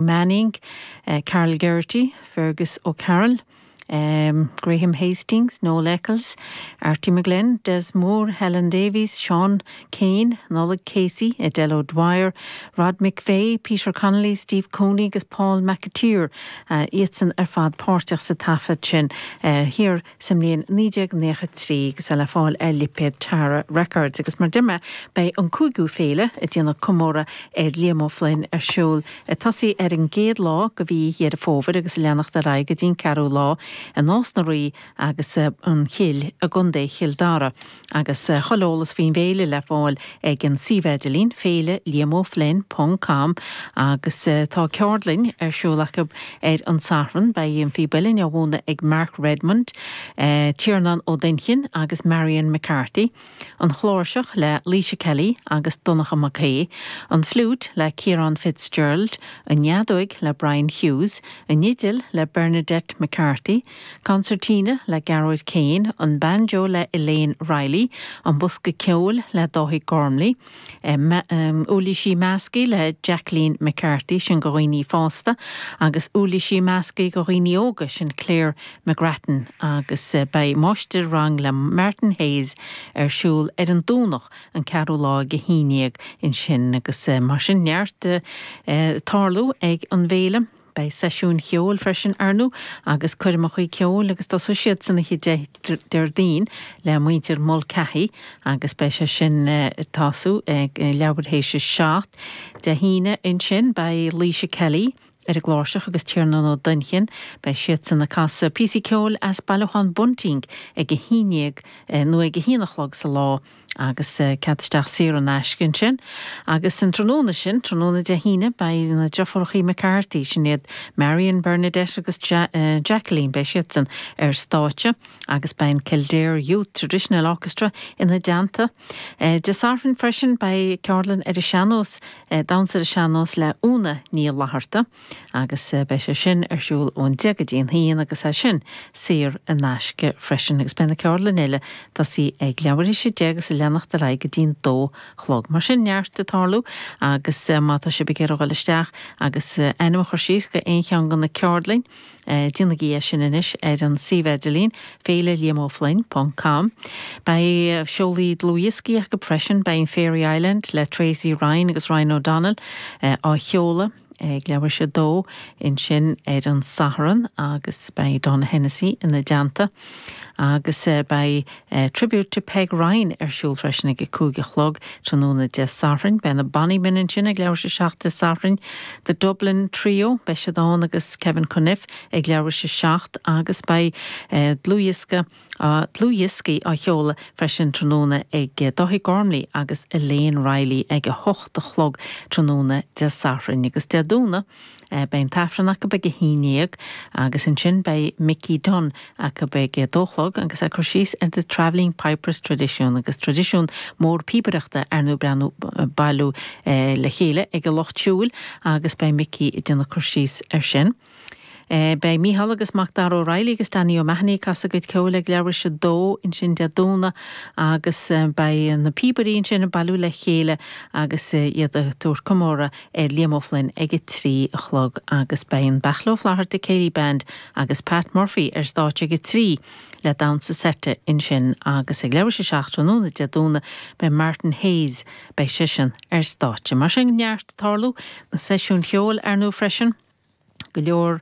Manning, Karl Geraghty, Fergus O'Carroll, Graham Hastings, Noel Eccles, Arty McGlynn, Des Moore, Helen Davies, Seán Keane, Nollaig Casey, Edel O'Dwyer, Rod McVeigh, Peter Connolly, Steve Cooney agus Paul McAteer, iadsan ar fad páirteach sa taifead sin thiar sa mbliain 1993 agus é le fáil ar lipéad Tara Records. Agus mar a deir mé, beidh an cúigiú féile ag déanamh comóradh ar Liam O'Flynn ar siúl ag tosaí ar an gcéad lá de mhí Dheireadh Fómhair agus ag leanacht ar aghaidh go dtí an ceathrú lá i Nás na Rí agus an Chill i gContae Chill Dara. Agus chuile eolas faoin bhféile le fáil ag an suíomh idirlín, féile liamoflynn ponc com agus tá ceardlann ar siúl acu ar an Satharn. Beidh an phíb uilleann á mhúineadh ag Mark Redmond, Tiarnán Ó Duinnchinn agus Marion McCarthy, an chláirseach le Laoise Kelly agus Donncha Mac Aoidh, an fliúit le Ciarán Fitzgerald, an fheadóig le Brian Hughes, an fhidil le Bernadette McCarthy, Concertina le Gearóid Kane, an banjo le Elaine Reilly, an bosca ceoil le Dáithí Gormley, uirlisí measctha le Jacqueline McCarthy, sin do dhaoine fásta, agus uirlisí measctha do dhaoine óga, sin Claire McGrattan, agus beidh máistir-rang le Martin Hayes ar siúl ar an Domhnach an ceathrú lá ag a haon dhéag ansin agus mar sin neart ag tarlú ag an bhféile. Beidh seisiúin cheoil freisin, ar ndóigh, agus coirmeacha ceoil agus tosóidh siad san oíche Déardaoin le muintir Mulcahy agus beidh sé sin ag tosú ag leathuair théis a 7. Dé hAoine ansin beidh Laoise Kelly ar an gcláirseach agus Tiarnán Ó Duinnchinn, beidh siadsan ag casadh píosaí ceoil as bailiúchán Bunting ag a haon dhéag nó ag a haon a chlog sa lá. Agus cead isteach saor in aisce ansin. Agus an tráthnóna sin, tráthnóna Dé hAoine, beidh na deirfiúrachaí McCarthy, sin iad Marion, Bernadette agus Jacqueline, beidh siadsan ar stáitse agus beidh an Kildare Youth Traditional Orchestra ina dteannta. Dé Sathairn freisin beidh ceardlann ar an sean-nós, damhsa ar an sean-nós le Úna Ní Fhlatharta. agus beidh sé sin ar siúl ón deich go dtí an haon agus é sin saor in aisce freisin agus beidh na ceardlanna eile ag tosaí ag leathuair théis a deich agus ag leanacht ar aghaidh go dtí an dó chlog. Mar sin neart ag tarlú agus má tá sibh ag iarraidh dul isteach agus ainm a chur síos go aon cheann de na ceardlainn, Déanaigí é sin anois ar an suíomh idirlín, féileliamoflynn ponc com. Beidh seolaí dlúthdhioscaí acu freisin, beidh an Fairy Island le Tracey Ryan agus Ryan O'Donnell á sheoladh ag leathuair théis a dó ansin ar an Satharn agus beidh Donagh Hennessy ina dteannta agus beidh Tribute to Peg Ryan ar siúl freisin ag a 5 a chlog tráthnóna Dé Sathairn. Beidh na Bonnymen ansin ag leathuair théis a 7 Dé Sathairn. The Dublin Trio, beidh siad ann agus Kevin Cunniffe ag leathuair théis a 7 agus beidh dlúthdhiosca dlúthdhioscaí á sheoladh freisin tráthnóna ag Dáithí Gormley agus Elaine Reilly ag a hocht a chlog tráthnóna Dé Sathairn agus Dé Domhnaigh Beidh an tAifreann acu ag a haon dhéag agus ansin beidh Mickey Dunne acu ag a dó chlog agus é ag cur síos ar The Travelling Pipers Tradisiún agus traidisiún mór píobaireachta ar ndóigh breathnú bailiú le chéile ag an lucht siúil agus beidh Mickey ag déanamh cur síos ar sin. Beidh Mícheál agus Macdara O'Reilly agus Danny O'Mahony ag casadh a gcuid ceoil ag leathuair théis a dó ansin Dé Domhnaigh agus beidh na píobairí ansin ag bailiú le chéile agus iad ag tabhairt comóradh ar Liam O'Flynn ag a 3 a chlog agus beidh an Beairtle Ó Flatharta Céilí Band agus Pat Murphy ar stáitse ag a 3 le damhsa seite ansin agus ag leathuair théis a 7 tráthnóna Dé Domhnaigh beidh Martin Hayes, beidh seisean ar stáitse. Mar sin neart ag tarlú, na seisiúin cheoil ar ndóigh freisin. Go leor,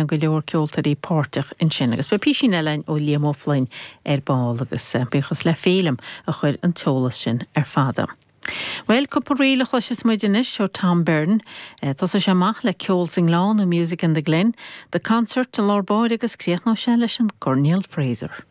go leor ceoltóirí páirteach ansin. Agus beidh písín eile againn ó Liam O'Flynn ar ball agus buíochas le Féilim a chuir an t-eolas sin ar fad. Bhuel, cúpla ríl a chloisfeas muid anois ó Tom Byrne. Tosóidh sé amach le Ceol sa nGleann nó Music in the Glen, The Concert i lár báire agus críochnóidh sé leis an gCoirnéal Fraser.